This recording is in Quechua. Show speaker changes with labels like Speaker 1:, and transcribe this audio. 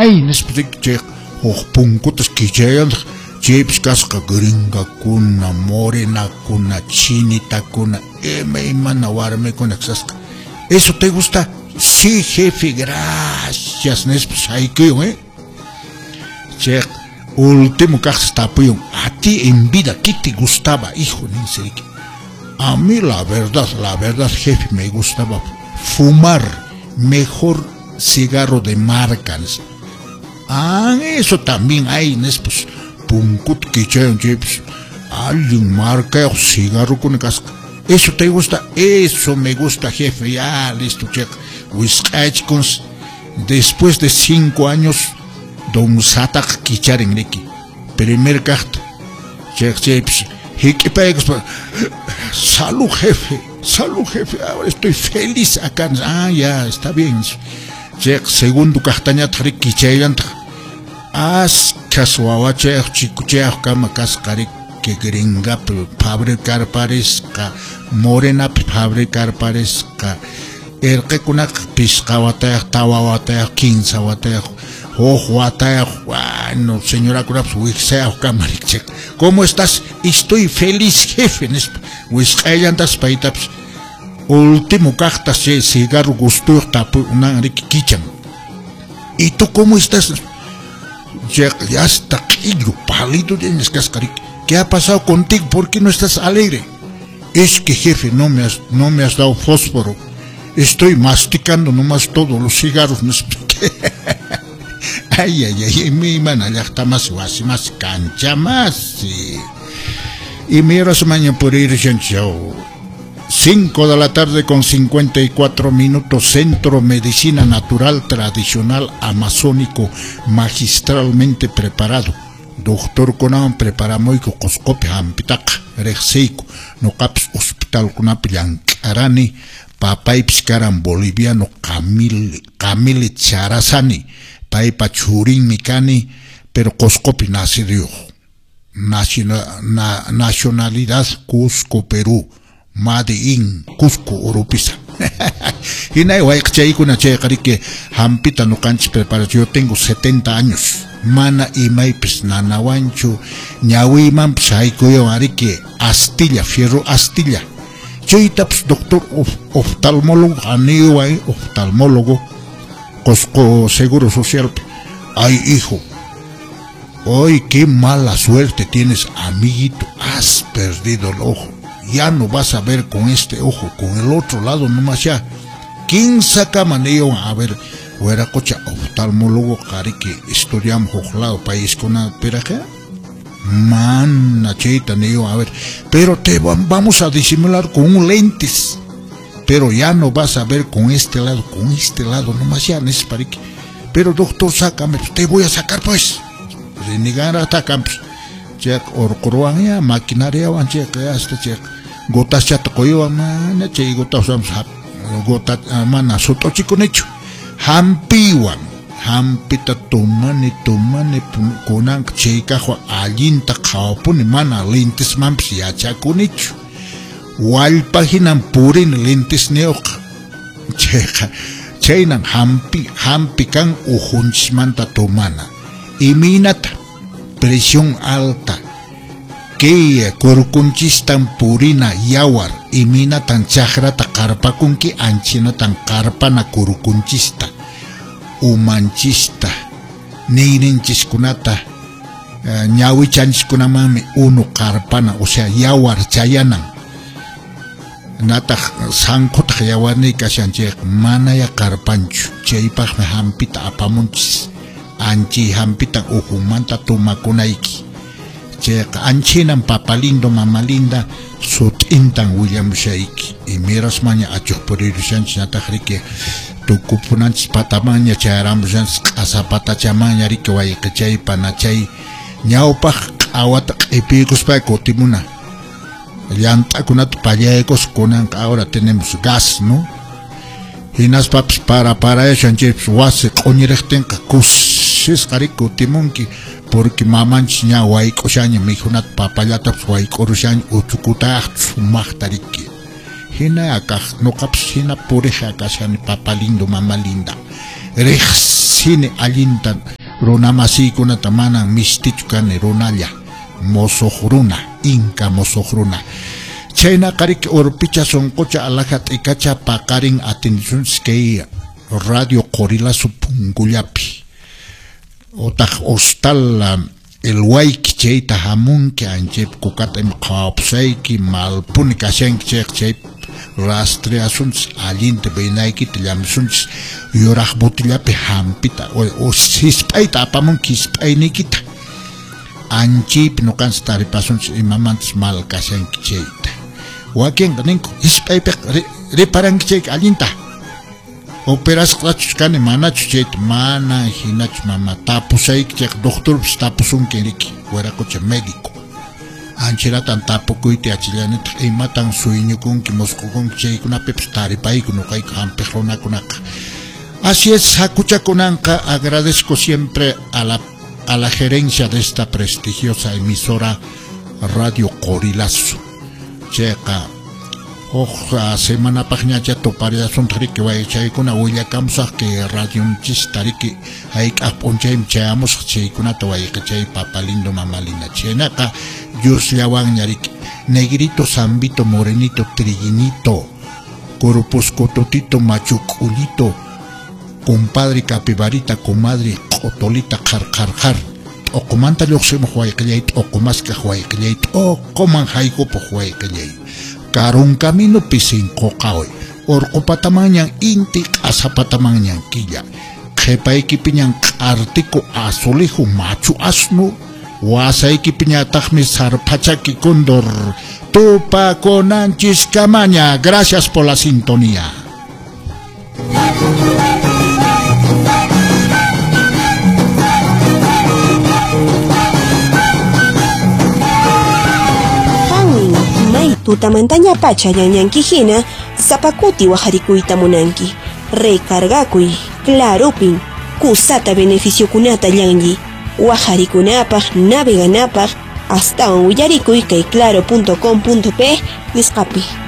Speaker 1: Hay nispa chay huk punkutas kichayantaq chaypis kasqa gringakuna, morenakuna, chinitakuna, imaymana warmikuna kasqa. ¿Eso te gusta? Sí, jefe, gracias nispa saykuyun, ¿eh? Chay último kaq tapuyun, a ti en vida, ¿qué te gustaba, hijo? Ninsi, a mí la verdad, jefe, me gustaba fumar mejor cigarro de marca. Ah, eso también hay, pues, punkut kichayan, chaypis, allin marca cigarro con casca. ¿Eso te gusta? Eso me gusta, jefe. Ya, listo, check. Después de 5 años, don Satak kicharen riki. Primer carta. Check, chaypis. Salud, jefe. Salud, jefe. Ahora estoy feliz acá. Ah, ya, está bien. Check, segundo cartañat riki chayantaq. Askas wawachayaq chikuchayaq kama kasqa riki gringapi fabricar parisqa, morenapi fabricar parisqa, erqikunaqa pisqa watayaq, tawa watayaq, 15 watayaq, huk watayaq, bueno, señorakunapas wiksayaq kama riki. ¿Cómo estás? Estoy feliz, jefe, nispa. Wisq'ayllantas paytapas. Último kaqtas chay cigarro gustuyuq tapunan riki kichan. ¿Y tú cómo estás? Ya está q'illu, pálido tienes kasqa riki. ¿Qué ha pasado contigo? ¿Por qué no estás alegre? Es que, jefe, no me has dado fósforo. Estoy masticando nomás todos los cigarros. Ay, ay, ay, mi mana llaqta más, wasi más, cancha más. Y mira su maña por ir, 5 de la tarde con 54 minutos, Centro Medicina Natural Tradicional Amazónico, magistralmente preparado. Doctor kunawan preparamuyku Qusqupi hampitaqa riqsiyku, nuqapis hospital kunapi llank'arani, papaypis karan boliviano Camille Charazani, paypa churinmi kani, pero Qusqupi naciduyuq. Nacionalidad Cusco, Perú. Made in Cusco, Oropesa. Hinay wayqchaykuna chayqa riki hampita nuqanchis preparación. Yo tengo 70 años. Mana imaypis nanawanchu, ñawiymanpis haykuywan ariki astilla, fierro astilla. Chaytapas doctor oftalmólogo, aniway oftalmólogo, Cusco Seguro Social. Ay, hijo, ay, qué mala suerte tienes, amiguito, has perdido el ojo. Ya no vas a ver con este ojo, con el otro lado nomás ya. ¿Quién saca maneo? A ver, hueracocha, oftalmólogo, carique, estudiamos ojlado, país con una peraje. Mana, cheta, neo, a ver. Pero te vamos a disimular con un lentes. Pero ya no vas a ver con este lado nomás ya, nesparique. Pero doctor, sácame, te voy a sacar pues. Renegar hasta campos. Check, orqurwan ya, maquinaria, check, hasta check. Gotas chata qoywan, mana chay gotas gota mana sutochikunichu. Hampiwan, hampita tumani kunan chaykaqwan allinta qhawapuni, mana lentesmanpis yachakunichu. Wallpa hinan purini lentesniyuqqa. Chayqa chaynan hampi kan ujunchismanta tumana. Imaynata presión alta, que kurkunchistan purina yawar, iminatan chakrata qarpakunki, anchinatan qarpana kurkunchista, umanchista, niyrinchiskunata, ñawichanchiskunamanmi unu qarpana, o sea, yawar chayanan. Nataq sanqutaq yawarniy kashan chayqa manaya qarpanchu, chaypaqmi hampita apamunchis. Anchi hampita ujunmanta tumakunayki. Chayqa anchinan papa lindo, mama linda, sut'intan willamushayki. Imirasmaña achuq purirushanchis nataq riki tukupunanchis patamanña chayaramushanchis q'asa patachamanña riki wayqichay panachay ñawpaq q'awata q'ipiykuspa kutimuna. Llant'akunata pallaykus kunanqa ahora tenemos gas, ¿no? Hinaspapis para chaypis wasi q'uñiriqtinqa kusisqa riki kutimunki, porque mamanchis ña wayk'ushaña mikhunata papallatapis wayk'urushaña uchukutaq sumaqta riki. Hina akaq nuqapis hina puriqa kashani papa lindo, mama linda. Riqsini allinta. Runamasiykunata manan mistichu kani runalla, mosoq runa, inka mosoq runa. Chaynaqa riki urpicha sunqucha alaja t'ikacha paqarin atindisunchis kay Radio Qorilazo punkullapi. Otaq hostal El Wayki chayta hamunki anchaypi kukata ima qhawapusayki malpuni kashanki chayqa chaypi rastreasunchis allinta venaykita llamisunchis yuraq botillapi hampita o hisp'ayta apamunki hisp'ayniykita anchaypi nuqanchis taripasunchis imamantas mal kashanki chayta. Wakinqa ninku hisp'aypiqa riparanki chayka allinta. Operasqachus kani manachus chayta mana hinachu mama tapusayki chayqa doctorpis tapusunki riki wiraqucha médico. Anchiratan tapukuyta yachallanitaq imatan sueñukunki musqukunki chaykunapipis taripayku nuqayku hampiq runakunaqa. Así es, hakuchakunanqa agradezco siempre a la gerencia de esta prestigiosa emisora Radio Qorilazo. Chayqa huk semanapaqñacha tuparillasunta riki waychaykuna willakamusaq kay radionchista riki hayk'aq p'unchaymi chayamusaq chaykunata wayqichay papa lindo mama linda. Chaynaqa Diosllawanña riki negrito, zambito, morenito, trillinito, corpuscototito, machuc'ullito, compadre capibarita, comadre q'otolita, qhar qhar qhar. T'uqumanta lluqsimuq wayqillay, t'uqumaskaq wayqillay, t'uquman haykupuq wayqillay. Karun camino pisin qoqawi, urqupatamanñan inti, q'asapatamanñan killa. Qhipaykipiñan q'artiku azulejo machu asnu, wasaykipiñataqmi sarpachaki cóndor. Tupakunanchis kamaña. Gracias por la sintonía.
Speaker 2: Tutamantaña pacha ñanñanki hina sapakuti wajarikuyta munanki. Recargakuy, clarupin, kusata beneficiokunata llanlli. Wajarikunapaq, naveganapaq, astawan willarikuy kay claro.com.pe nisqapi.